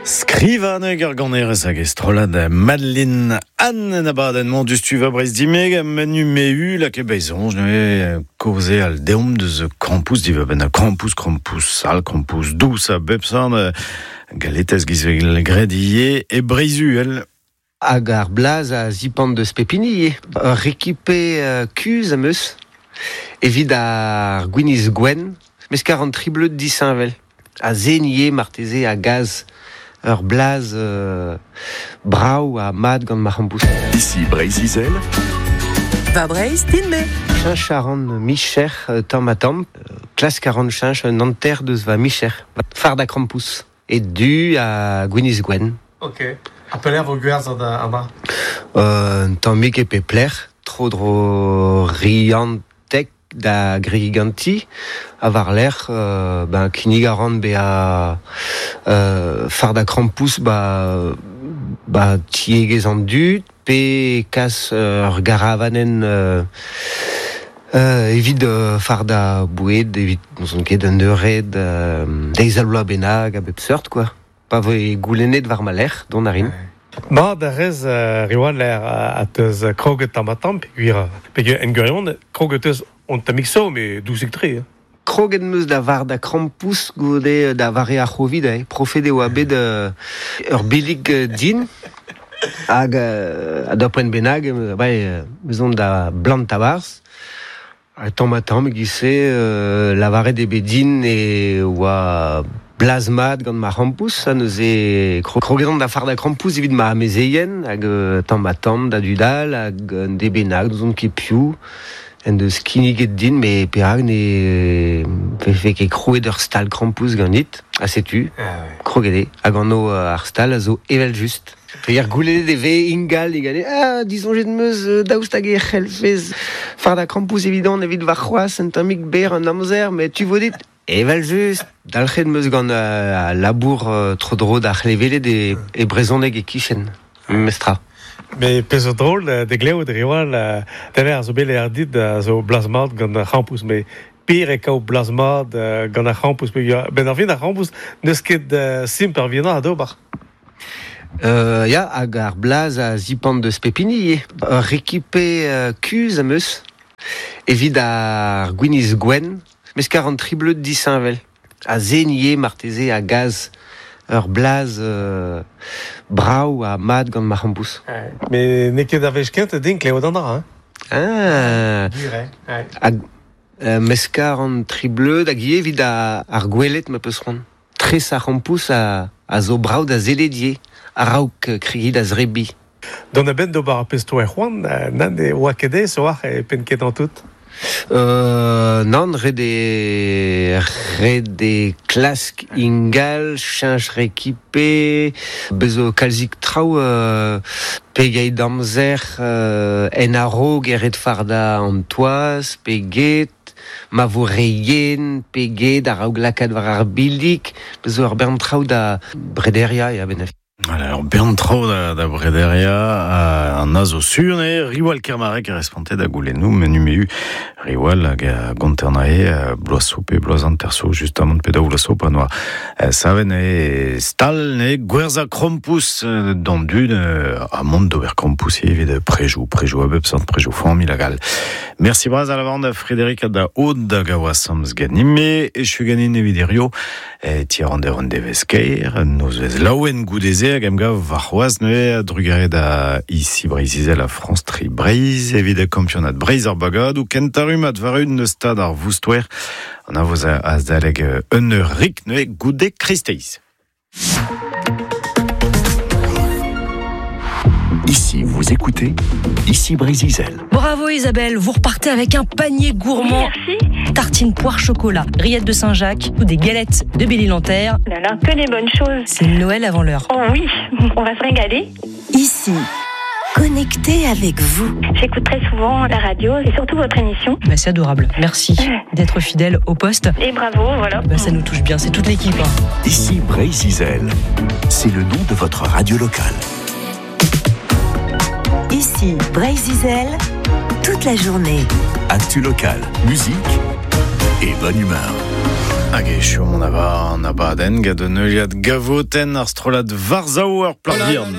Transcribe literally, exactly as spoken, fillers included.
Skrivaneg ar ganerez hag estrolad Madeline Anne en abadenn mont du stuva Breiz dimeg a menu meu la ke beizonj ne koze al deom deus krampouez diva ben a krampouez, krampouez sal, krampouez dous a bep san galetez gizvegel gredie e Breizuel. Hag ar blaz a zipant deus pepini, ur rekipe uh, kuz am eus, evit ar gwiniz gwenn, mes kar an tribleud disheñvel. A zenie marteze a gaz ur blaz euh, brav a mad gant ma c'hampouz. Ici Breizh-Izel. Va Breizh, din me. Cheñch a ran micher euh, tamm ha tamm. Klask a ran cheñch un hanter deus va micher. Fard a krampouez. E du a gwiniz gwenn. Ok. A pelec'h vo gwerzhet amañ? Euh, un tammig e pep lec'h, tro dro Rianteg da Griganti, a war lec'h, euh, ben, kinnig a ran bezañ euh, fard a krampouez ba, ba tiegezh an dud, pe kas ur garavanenn euh, euh, evit euh, fard a boued, evit n'ouzon ket un eured, euh, deiz al bloaz bennak a bep seurt, quoi. Pa voe goulennet war ma lec'h, dont a rin. Ma da rez uh, riwan l'air a teus kroget tamm ha tamm, peogwir peogwir en gwirion, kroget eus on tammig so, me dousik tre. Hein. Kroget meus da var da krampouez goude da vare ar c'hovid, eh. Profet eo a bet euh, ur billig euh, din, hag euh, a da poent bennak, euh, bai, euh, meus on da blant tabarz. Ha tamm ha tamm e-giz-se euh, lavaret eo bet din e oa blazmat gant ma c'hrampouez, ha neuze kroget on da far da krampouez evit ma amezeien, hag euh, tamm ha tamm da dudal, hag un de bennak, n'ouzon ket piv, en deus kinniget din, me perak ne vefe ket krouet ur stal krampouez ganit, ha setu, kroget eo, hag an o ar stal a zo evel just. Peogwir goulennet e vez ingal digane, ah, disoñjet meus daoust hag e c'hellfez far da krampouez evidon evit warc'hoazh un tammig berr an amzer, met tu vo dit, evel just, dalc'het meus gant euh, a labour euh, tro-dro d'ar c'hleveled e, e brezhoneg e kichen, mestra. Me pezh zo drol de glev de riwal da ver a zo bet ar dit a zo blazmat gant ar c'hrampouez, me pire e kao blazmat gant ar c'hrampouez, ben ar fin ar c'hrampouez n'eus ket uh, simp ar vienna d'ober. Euh, ya, hag ar blaz a zipant deus pepini, ur rekipe euh, kuz am eus, evit ar gwiniz gwenn, mes kar an tribleud disheñvel. A zenie marteze a gaz ur blaz euh, brav ha mat gant ma c'hrampouez. Me n'eo ket ar wech kentañ din klevet an dra, hein? Ah. Gwir, eh? Hag euh, mes kar an tribleud hag ivez evit ar, ar gwelet ma peus c'hoant. Tres ar c'hrampouez a, a zo brav da zeledier, a-raok kregi da zrebi. Dont a benn d'ober ar pezh to e c'hoant, nan e oa ket aes oar e penn ket an tout? Euh, nan, ret eo, ret eo klask ingal, cheñch rekipe, bez zo kalzik traoù euh, pegeit amzer euh, en a-raok e ret fardañ an toaz, peget, ma vo re yen, peget a-raok lakaat war ar billig, bez zo ur bern traoù da brederiañ ya benef. Voilà, ur bern traoù da, da brederia an a zo sur ne Riwal Kermarek a responte da goulennoù menu meu Riwal hag a gonternae bloaz so pe bloaz an terso justamant pe daou bloaz so pa noa saven e stal ne gwerza krampouez d'an dud a mont d'ober krampouez evit prejou prejou a bep seurt prejou familh hag all. Merci bras a la vande Frédéric da Aude da gaoa samz ganime e chu ganin evit hirio e tier an der an devezh-kaer noz vez laouen goudeze hag em gav warc'hoazh neuze drugare da ici Breizh-Izel a France Tri Breizh evit a kampionad Breizh ar bagadoù kentañ rummad war un eus stad ar Voustoer an a voz azalek un eur rik neuze goude kreisteiz. Ici, vous écoutez, ici Breizh-Izel. Bravo Isabelle, vous repartez avec un panier gourmand. Merci. Tartine poire chocolat, rillettes de Saint-Jacques ou des galettes de Belle-Île-en-Terre. Là là, que des bonnes choses. C'est Noël avant l'heure. Oh oui, on va se régaler. Ici, connecté avec vous. J'écoute très souvent la radio et surtout votre émission. Bah, c'est adorable. Merci d'être fidèle au poste. Et bravo, voilà. Bah, ça nous touche bien, c'est toute l'équipe. Hein. Ici Breizh-Izel, c'est le nom de votre radio locale. Ici Breizh-Izel, toute la journée. Actu locale, musique et bonne humeur. Hag e chom an aba an abadenn gant un euliad gavoten ar strollad Varzao ur plat vihan.